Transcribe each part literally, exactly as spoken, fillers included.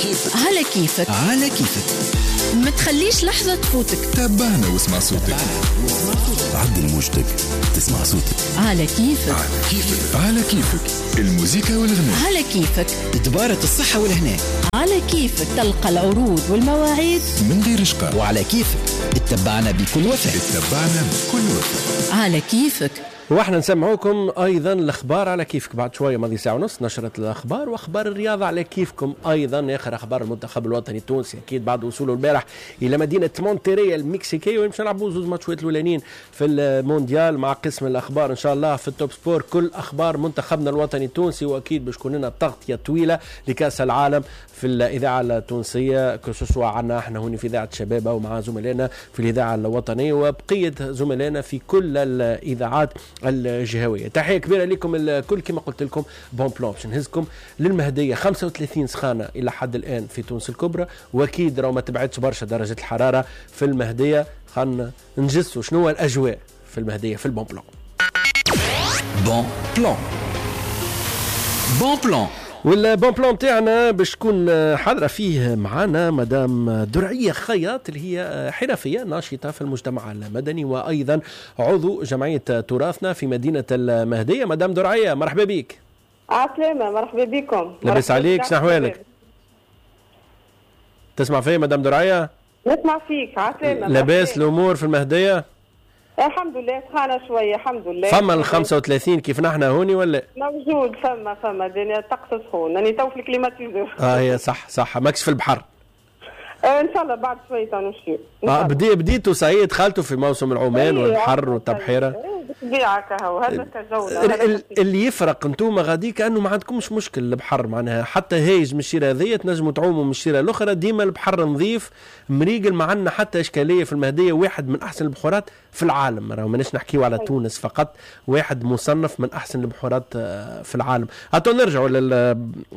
كيفك. على كيفك. على كيفك. ما تخليش لحظة تفوتك. تابعنا واسمع صوتك. عدل موجتك تسمع صوتك. على كيفك. على كيفك. على كيفك. الموسيقى والغناء. على كيفك. دبارة الصحة والهناء. على كيفك تلقى العروض والمواعيد من غير شقاء. وعلى كيفك اتبعنا بكل وفاء. اتبعنا بكل وفاء. على كيفك. واحنا نسمعوكم ايضا الاخبار على كيفك بعد شوية، ماضي ساعة ونص نشره الاخبار واخبار الرياضة على كيفكم ايضا، اخر اخبار المنتخب الوطني التونسي اكيد بعد وصوله البارح الى مدينة مونتيري المكسيكيه، وين باش نلعبوا زوز ماتشات الاولانيين في المونديال مع قسم الاخبار ان شاء الله في ال Top Sport، كل اخبار منتخبنا الوطني التونسي، واكيد باش تكون لنا تغطيه طويلة لكاس العالم في الاذاعة التونسية، que ce soit عنا احنا هون في اذاعة شبابه ومع زملائنا في الاذاعة الوطنية وبقية زملائنا في كل الاذاعات الجهوية. تحية كبيرة لكم الكل، كما قلت لكم bon plan باش نهزكم للمهديه، خمسة وثلاثين سخانه الى حد الان في تونس الكبرى، واكيد راهو ما تبعدش برشا درجه الحرارة في المهدية. خلينا نجسوا شنو الاجواء في المهدية في ال bon plan. bon plan. bon plan. وال bon plan تاعنا باش تكون حاضره فيه معنا مدام درعيه خياط، اللي هي حرفية ناشطة في المجتمع المدني وايضا عضو جمعية تراثنا في مدينة المهدية. مدام درعيه مرحبا بك. عسلامة، مرحبا بكم. لاباس عليك، شنو احوالك؟ تسمع فيا مدام درعيه؟ نسمع فيك، عسلامة. لاباس الامور في المهدية؟ الحمد لله، سخانة شوية الحمد لله. فما ال خمسة وثلاثين كيف نحن هوني ولا؟ موجود، فما فما الدنيا الطقس سخون، راني تو في ال climatiseur. اه هي صح صح، ماكش في البحر؟ آه ان شاء الله بعد شوية نمشيو. اه بدي بديتوا سعيد خالته في موسم العمان والبحر والتبحيرة. بالطبيعة كهو هذاك الجو اللي يفرق انتوما غادي كأنه ما عندكمش مشكل البحر، معناها حتى هايج من الشيرة هذيا تنجموا تعوموا من الشيرة الأخرى، ديما البحر نظيف مريقل، ما عندنا حتى إشكالية في المهدية، واحد من أحسن البحورات في العالم، راهو ماناش نحكيو على تونس فقط، واحد مصنف من أحسن البحورات في العالم. هاتو نرجعوا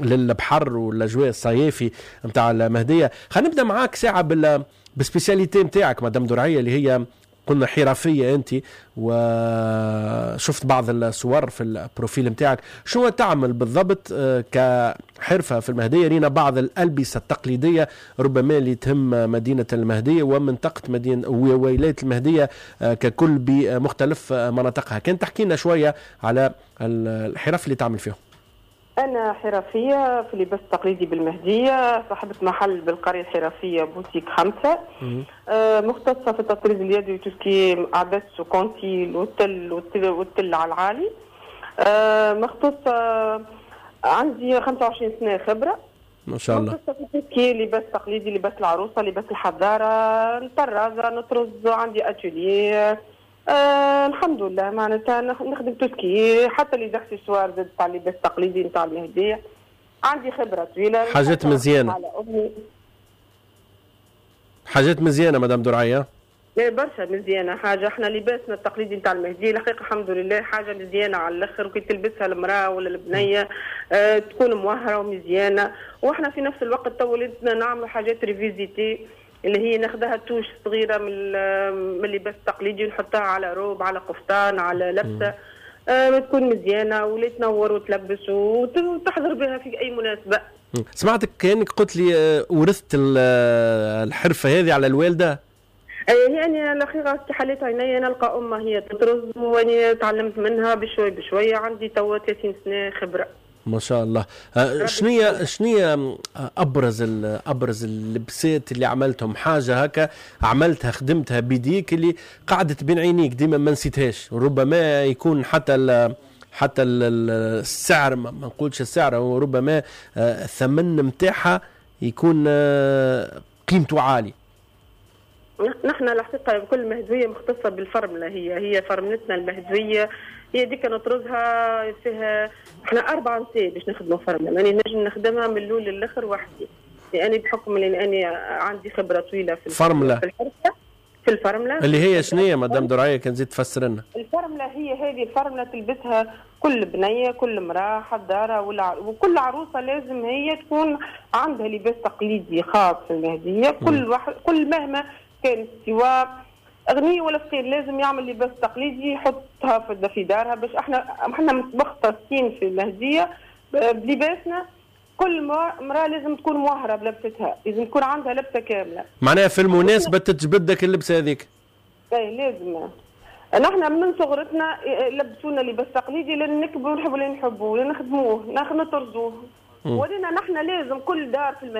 للبحر والأجواء الصيفي نتاع المهدية. خلينا نبدأ معاك ساعة بال بال spécialité نتاعك مدام درعية، اللي هي قلنا حرفية أنت، وشفت بعض الصور في ال profil نتاعك، شو تعمل بالضبط كحرفة في المهدية؟ رينا بعض الألبسة التقليدية ربما اللي تهم مدينة المهدية ومنطقة مدينة وولاية المهدية ككل بمختلف مناطقها، كان تحكي لنا شوية على الحرف اللي تعمل فيهم. أنا حرفية في اللباس التقليدي بالمهدية، صاحبة محل بالقرية الحرفية بوتيك خمسة، آه مختصة في التطريز اليدوي tout ce qui عدس وكونتيل والتل والتل, والتل على العالي. آه مختصة، عندي خمسة وعشرين سنة خبرة ما شاء الله. مختصة في tout ce qui لباس تقليدي، لباس العروسة، لباس الحضارة، نطرز نطرز، عندي أتولي. آه الحمد لله، معناتها نخدم tout ce qui حتى les accessoires زاد تاع اللباس التقليدي نتاع المهدية، عندي خبره طويلة. حاجات مزيانه، حاجات مزيانه مدام درعيه. برشا مزيانه حاجة، احنا لباسنا التقليدي نتاع المهدية الحقيقة الحمد لله حاجة مزيانه على الاخر، وكي تلبسها المراة ولا البنية آه تكون موهره ومزيانه، واحنا في نفس الوقت تو ولدنا نعملوا حاجات revisitées اللي هي ناخذها touche صغيرة من من اللباس التقليدي ونحطها على روب، على قفطان، على لبسه، آه تكون مزيانه ولا تنور وتلبس وتحضر بها في اي مناسبة. سمعتك كانك قلت لي ورثت الحرفة هذه على الوالدة؟ هي انا الاخيرة كي حليت عيني نلقى امها هي تطرز، واني تعلمت منها بشوي بشوي، عندي توا ثلاثين سنة خبره. ما شاء الله. شنية شنية ابرز ابرز اللبسات اللي عملتهم، حاجة هكا عملتها خدمتها بيديك اللي قعدت بين عينيك ديما ما نسيتهاش، ربما يكون حتى ال حتى ال السعر، ما نقولش السعر، وربما الثمن نتاعها يكون قيمته عالية. نحن الحقيقة كل مهدويه مختصة بالفرمله، هي هي فرملتنا المهدويه هي ديك نطرزها فيها، احنا اربع نساء باش نخدموا فرمله، يعني نجم نخدمها من الاول للاخر وحدي، لاني بحكم لاني عندي خبره طويلة في الفرمله في الحرفة في الفرمله اللي هي شنية مدام درعيه كان زيد تفسر لنا؟ الفرمله هي هذه الفرمله تلبسها كل بنيه، كل امراة حضارة ولا وكل عروسه لازم هي تكون عندها لباس تقليدي خاص في المهدية، كل واحد كل مهما كان سواء غني ولا فقير لازم يعمل لباس تقليدي يحطها في دارها، باش احنا احنا مختصين في المهدية بلباسنا، كل امراة لازم تكون موهره بلبستها، لازم تكون عندها لبسه كاملة. معناها في المناسبة تتجبدك اللبسه هذيك. اي لازم. نحن من صغرتنا لبسونا لباس تقليدي، لان نكبروا نحبوا اللي نحبوه، نخدموه، نطرزوه. ولينا نحن لازم كل دار في المهدي